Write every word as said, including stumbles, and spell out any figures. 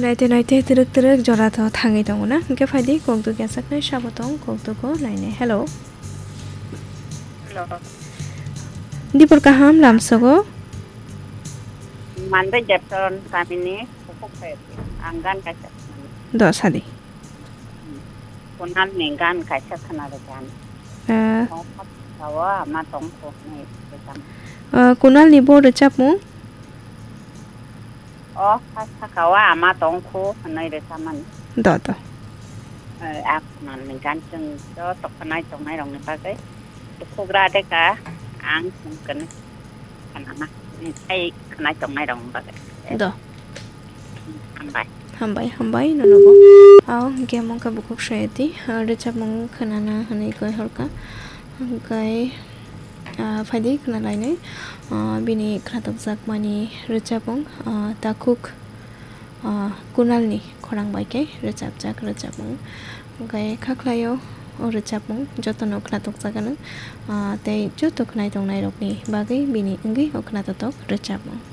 Naite naite twrwk twrwk jora tho thangwi tongo na? Hwnkhe phaidi kokduk yachaknai sabo tong, kokdugo nainai. Hello. Hello. Dipor kaham lamsogo? Manbai Depton kamini Kukhuk Phayati. Ang gan kaisa khwnani. Do sadi. Kunalni gan kaisa khwnarwkha. Eh. O, o, ama tongkhu hwnwi rwchapmung. Eh, Kunalni bo rwchapmung? O, kha sakao ama tongkhu hwnwi rwchapmani. Do, do. Eh, a Kunalni gan chwng joto khwnai tongnairokni bagwi. Bukhugra de ka ang chwng kwnwi khwnana, tei khwnai tongnairokni bagwi. Do. Hambai. Hambai, hambai, nonobo. Ao, hwnkhe mungkha bukhuk soyati, ah, rwchapmung khwnana hwnwi koi horkha. Hwnkhe, ah, phaidi khwnalainai, ah, bini khwnatokjakmani rwchapmung, ah, takhuk, ah, Kunalni khorang bai khe rwchapjak rwchapmung. Hwnkhe kha khlaio o rwchapmung jotono khwnatokjaganw, ah, tei joto khwnai tongnairokni bagwi bini wngwi o khwnatotok rwchapmung.